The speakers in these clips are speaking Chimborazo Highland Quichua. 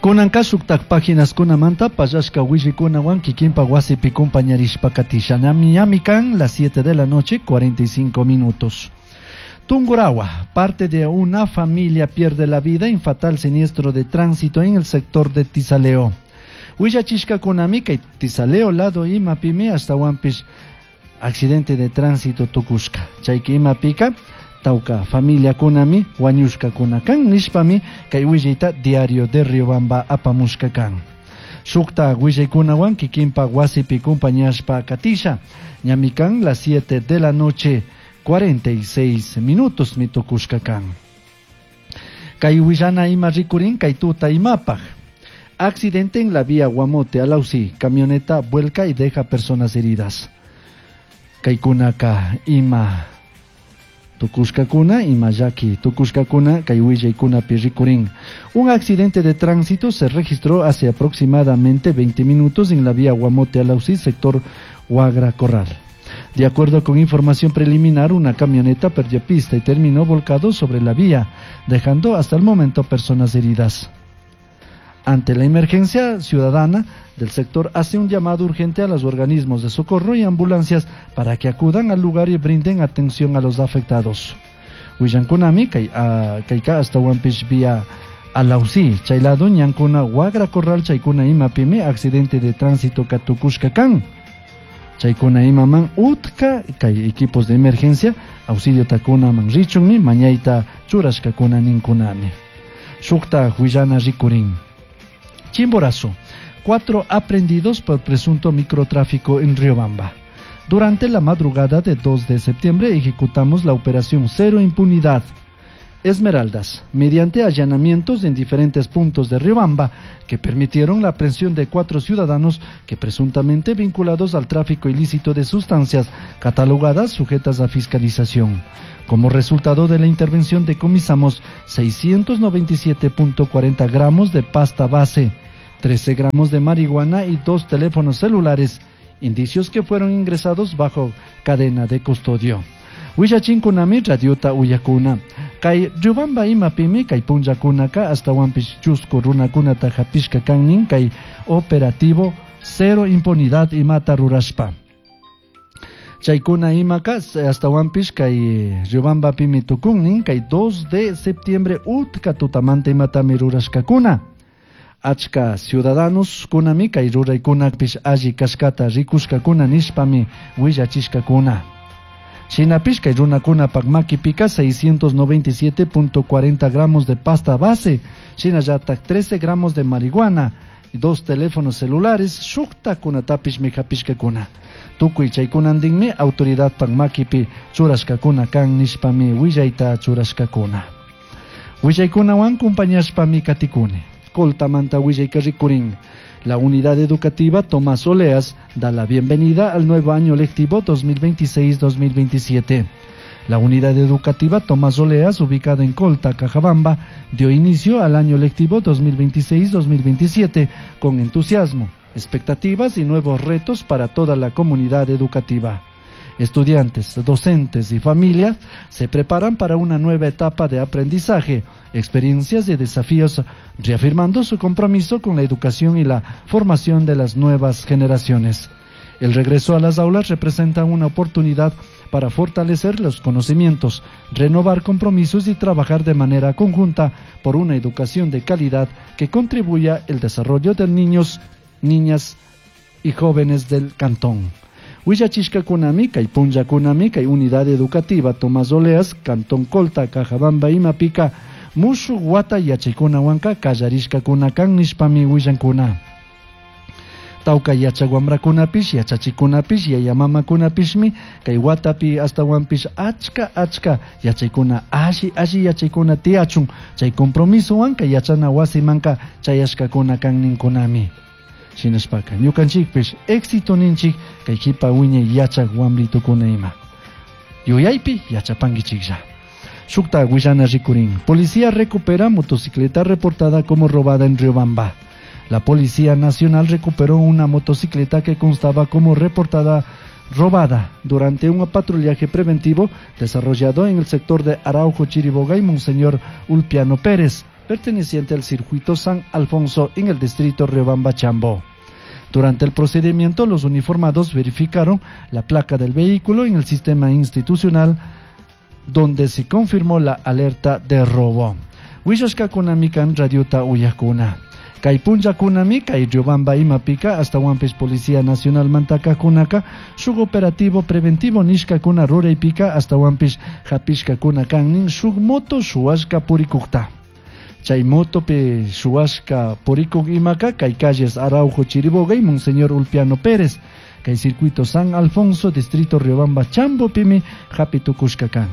Kunanka shuktak paginaskunamanta pallashka willikunawan kikinpa wasipi compañarishpa katisha. Ñami kan las 7 de la noche 45 minutos. Tungurahua, parte de una familia pierde la vida en fatal siniestro de tránsito en el sector de Tisaleo. Willachishkakunami kay Tisaleo lado imapimi ashtawanpish accidente de tránsito tukushka. Chayka imapika tawka familiakunami wañushkakuna kan nishpami kay willayta Diario de Riobamba apamushka kan. Shukta willaykunawan kikinpa wasipi compañashpa katisha. Ñami kan las 7 de la noche 46 minutos mitukushka kan. Kay willana ima rikurin kay tuta imapaj. Accidente en la vía Guamote Alausí, camioneta vuelca y deja personas heridas. Kaykunaka ima tukushkakuna ima llaki tukushkakuna kay willaykunapi rikurin. Un accidente de tránsito se registró hace aproximadamente 20 minutos en la vía Guamote Alausí, sector Huagra Corral. De acuerdo con información preliminar, una camioneta perdió pista y terminó volcado sobre la vía, dejando hasta el momento personas heridas. Ante la emergencia ciudadana del sector, hace un llamado urgente a los organismos de socorro y ambulancias para que acudan al lugar y brinden atención a los afectados. Willankunami kayka ashtawanpish vía Alausí, chay lado ñankuna Huagra Corral chaykuna imapimi accidente de tránsito katukushka kan. Chaykuna imaman utka kay equipos de emergencia auxilio takunaman richunmi mañayta churashkakuna ninkunami. Shukta huillana rikurin. Chimborazo, 4 aprehendidos por presunto microtráfico en Riobamba. Durante la madrugada de 2 de septiembre ejecutamos la operación Cero Impunidad Esmeraldas, mediante allanamientos en diferentes puntos de Riobamba que permitieron la aprehensión de 4 ciudadanos que presuntamente vinculados al tráfico ilícito de sustancias catalogadas sujetas a fiscalización. Como resultado de la intervención decomisamos 697.40 gramos de pasta base, 13 gramos de marihuana y 2 teléfonos celulares, indicios que fueron ingresados bajo cadena de custodio. Willachinkunami radiota uyakuna. Kay Riobamba imapimi kay punllakunaka ashtawanpish chusku runakunata hapishka kannin kay operativo Cero Impunidad imata rurashpa. Chaykuna imaka ashtawanpish kay Riobambapimi tukunnin kay 2 de septiembre utka tutamanta imatami rurashkakuna. Achka ciudadanos kunami kay ruraykunapish alli kashkata rikushkakuna nishpami willachishkakuna. Shinapish kay runakunapak makipika 697.40 gramos de pasta base, shinallatak 13 gramos de marihuana y 2 teléfonos celulares, shuktakunatapish mijapishkakuna. Tukuy chaykunantinmi autoridadpak makipi churashkakuna kan nishpami willayta churashkakuna. Willaykunawan compañashpami katikuni. Coltamanta willayka rikurin. La unidad educativa Tomás Oleas da la bienvenida al nuevo año lectivo 2026-2027. La unidad educativa Tomás Oleas, ubicada en Colta, Cajabamba, dio inicio al año lectivo 2026-2027 con entusiasmo, expectativas y nuevos retos para toda la comunidad educativa. Estudiantes, docentes y familias se preparan para una nueva etapa de aprendizaje, experiencias y desafíos, reafirmando su compromiso con la educación y la formación de las nuevas generaciones. El regreso a las aulas representa una oportunidad para fortalecer los conocimientos, renovar compromisos y trabajar de manera conjunta por una educación de calidad que contribuya al desarrollo de niños, niñas y jóvenes del cantón. Willachishkakunami, kay punllakunami, kay unidad educativa Tomás Oleas, Cantón Colta, Cajabamba, Imapika, mushu wata yachaykunawanka kallarishkakuna kan nishpami willankuna. Tawka yachak wamrakunapish, yachachikunapish, yayamamakunapishmi, kay watapi ashtawanpish achka achka yachaykuna, alli alli yachaykuna tiyachun, chay compromisowan kay yachana wasimanka chayashkakuna kan ninkunami. Shinashpaka ñukanchikpish éxito ninchik kay kipa wiñay yachak wamritukuna ima. Yuyaypi yachapankichiklla. Shukta willana rikurin. Policía recupera motocicleta reportada como robada en Riobamba. La Policía Nacional recuperó una motocicleta que constaba como reportada robada durante un patrullaje preventivo desarrollado en el sector de Araujo, Chiriboga y Monseñor Ulpiano Pérez. perteneciente al circuito San Alfonso en el distrito Riobamba Chambo. Durante el procedimiento, los uniformados verificaron la placa del vehículo en el sistema institucional, donde se confirmó la alerta de robo. Willashkakunami kan radiota uyajkuna. Kay punllakunami kay Riobamba imapika ashtawanpish Policía Nacional mantakakunaka shuk operativo preventivo nishkakuna ruraypika ashtawanpish hapishkakuna kan nin shuk moto shuwashka purikukta. Chay motopi shuwashka purikuk imaka kay calles Araujo Chiriboga y Monseñor Ulpiano Pérez kay circuito San Alfonso distrito Riobamba Chambopimi hapi tukushka kan.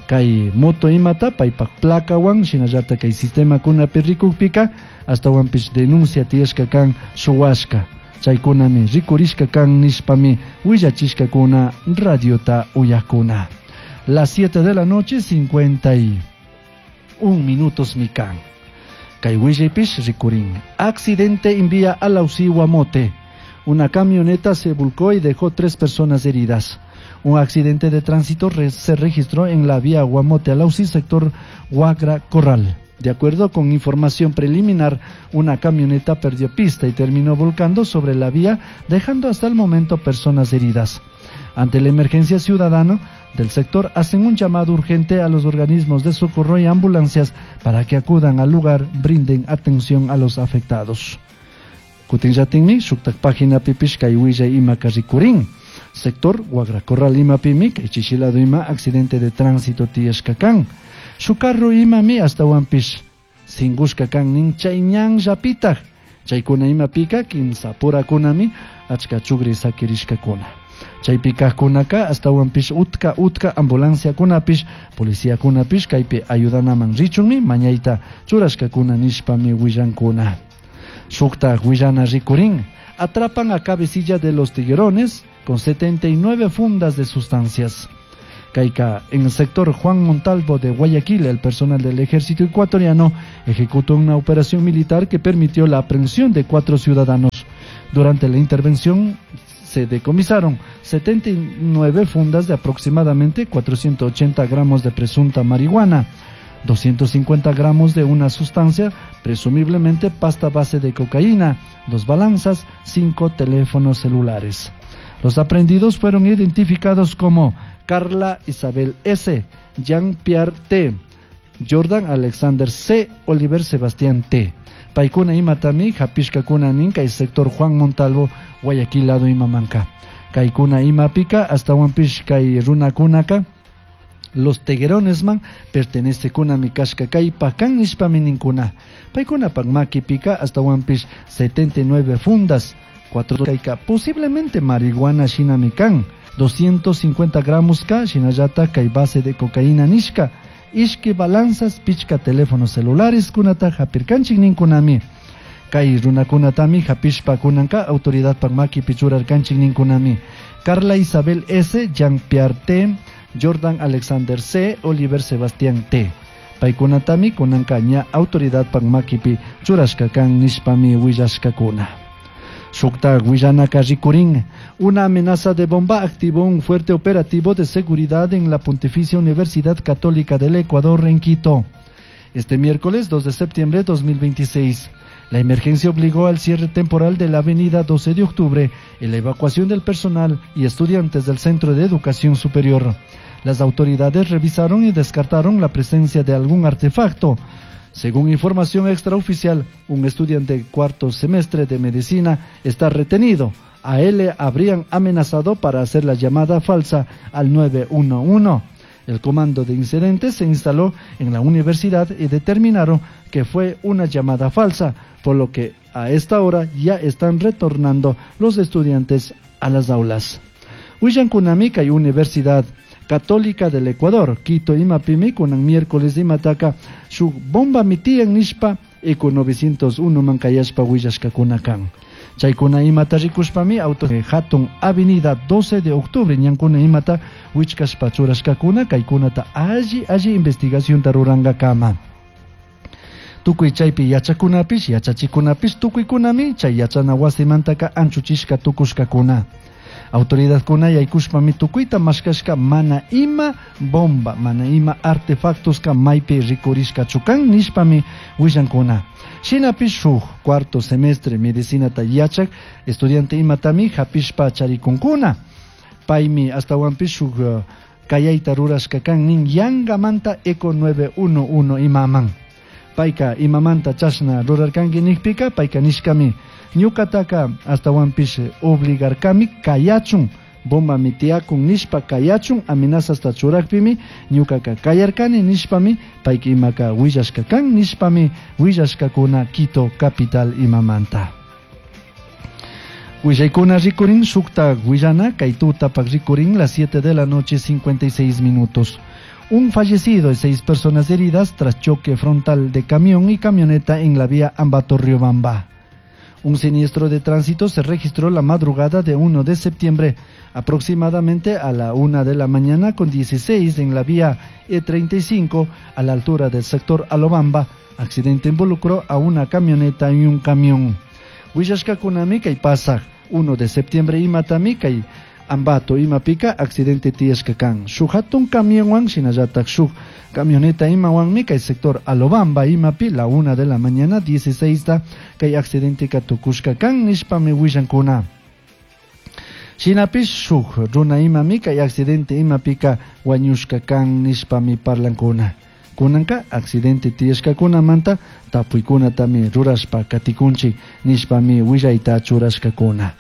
Kay moto imata paypak placawan shinallata kay sistema kunapi rikukpika ashtawanpish denuncia tiyashka kan shuwashka. Chaykunami rikurishka kan nishpami willachishkakuna radiota uyakuna. Las 7 de la noche 51 minutos mi kan. Kay willaypish rikurin. Accidente en vía Alausí Guamote. Una camioneta se volcó y dejó 3 personas heridas. Un accidente de tránsito se registró en la vía Guamote Alausí, sector Huagra Corral. De acuerdo con información preliminar, una camioneta perdió pista y terminó volcando sobre la vía, dejando hasta el momento personas heridas. Ante la emergencia ciudadana del sector, hacen un llamado urgente a los organismos de socorro y ambulancias para que acudan al lugar, brinden atención a los afectados. Kutinllatinmi, shuktak página pipish kay willay ima karrikurin. Sector Huagra Corral ima pimi, kay chichilado ima accidente de tránsito tiyashka kan. Su carro imami ashtawanpish singushka kan nin chay ñanllapitaj. Chaykuna ima pika kimsa purakunami achka chugri sakirishkakuna. Chaypikajkunaka ashtawanpish utka utka ambulanciakunapish policiakunapish kaypi ayudanaman richunmi mañayta churashkakuna nishpami willankuna. Shukta willana rikurin. Atrapan a cabecilla de los tiguerones con 79 fundas de sustancias. Caica, en el sector Juan Montalvo de Guayaquil, el personal del ejército ecuatoriano ejecutó una operación militar que permitió la aprehensión de 4 ciudadanos. Durante la intervención se decomisaron 79 fundas de aproximadamente 480 gramos de presunta marihuana, 250 gramos de una sustancia, presumiblemente pasta base de cocaína, 2 balanzas, 5 teléfonos celulares. Los aprehendidos fueron identificados como Carla Isabel S., Jean-Pierre T., Jordan Alexander C., Oliver Sebastián T. Paikuna imatami, hapishkakuna nin, kay sector Juan Montalvo, Guayaquil lado imamanka. Kaikuna imapika, hasta kay runakunaka, los teguerones man, pertenece kuna mi kashka kay pakan nishpami ninkuna. Paikuna pakmaki pika, hasta wanpish 79 fundas, 4 kaika, posiblemente marihuana shinamikan, 250 gramos ka, shinallata kay base de cocaína nishka, ishki balanzas, pichka teléfonos celulares kunata hapirkanchik ninkunami. Kay runakunatami hapishpa kunanka autoridad pakmaki pichurarkanchik ninkunami. Carla Isabel S., Jean-Pierre T., Jordan Alexander C., Oliver Sebastián T. Paykunatami kunanka ña autoridad pakmakipi churashkakan nishpami willashkakuna. Shukta willanaka rikurin. Una amenaza de bomba activó un fuerte operativo de seguridad en la Pontificia Universidad Católica del Ecuador en Quito. Este miércoles 2 de septiembre de 2026, la emergencia obligó al cierre temporal de la avenida 12 de octubre y la evacuación del personal y estudiantes del Centro de Educación Superior. Las autoridades revisaron y descartaron la presencia de algún artefacto. Según información extraoficial, un estudiante de cuarto semestre de medicina está retenido. A él le habrían amenazado para hacer la llamada falsa al 911. El comando de incidentes se instaló en la universidad y determinaron que fue una llamada falsa, por lo que a esta hora ya están retornando los estudiantes a las aulas. Willankunami kay Universidad Católica del Ecuador, Quito imapimi kunan miércoles imataka shuk bomba mitiyan nishpa eco 901 mankayashpa willashkakuna kan. Chaykuna imata rikushpami auto hatun avenida 12 de octubre ñankuna imata wichkashpa churashkakuna kaykunata alli alli investigación rurangakama. Tukuy chaypi yachakunapish yachachikunapish tukuykunami chay yachana wasimantaka anchuchishka tukushkakuna. Autoridadkuna yaykushpami tukuyta mashkashka mana ima bomba, mana ima artefactoska maypi rikurishkachu kan nishpami willankuna. Shinapish shuk cuarto semestre medicinata yachak estudiante imatami hapishpa charikunkuna. Paymi ashtawanpish shuk kayayta rurashka kan nin yangamanta Eco 911 imaman. Payka imamanta chashna rurarkanki nikpika payka nishkami ñukataka ashtawanpish obligarkami kayachun bombami tiyakun nishpa kayachun amenazasta churakpimi ñukaka kayarkani nishpami payka imaka willashka kan nishpami willashkakuna Quito capital imamanta. Willaykuna rikurin shukta willana kay tutapak rikurin las 7 de la noche 56 minutos. Un fallecido y 6 personas heridas tras choque frontal de camión y camioneta en la vía Ambato-Riobamba. Un siniestro de tránsito se registró la madrugada de 1 de septiembre, aproximadamente a la 1 de la mañana con 16 en la vía E35 a la altura del sector Alobamba. Accidente involucró a una camioneta y un camión. Willashkakunami kay pasaj 1 de septiembre imatami kay Ambato imapika accidente tiyashka kan. Shuk hatun camionwan shinallatak shuk camioneta imawanmi kay sector Alobamba imapi la 1 de la mañana 16 ta kay accidente tukushka kan nishpami willankuna. Shinapish shuk runa imami kay accidente imapika wañushka kan nishpami parlankuna. Kunanka accidente tiyashkakunamanta tapuykunatami rurashpa katikunchik nishpami willayta churashkakuna.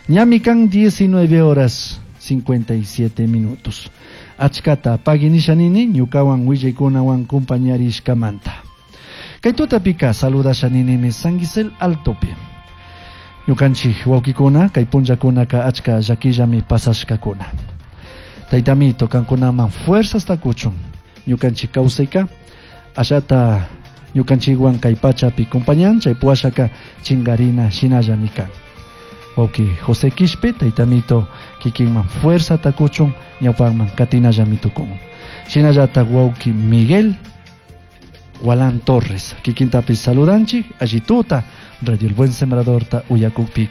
Ñami kan 19 horas 57 minutos. Achkata pagui nishanini ñukawan willaykunawan compañarishkamanta. Kay tutapika saludashaninimi San Gisel Altopi. Ñukanchik wawkikuna kay punllakunaka achka llakillami pasashkakuna. Taytamito kankunaman fuerzas takuchun. Ñukanchik kawsayka ashata ñukanchikwan kay pachapi compañan chay puashaka chingarina shinallami kan. Wawki José Quispe taytamito kikinman fuerza takuchun ñawpanman katinallami tukun. Shinallata wawki Miguel Gualán Torres kikintapi saludanchik allituta Radio El Buen Sembrador ta uyakukpika.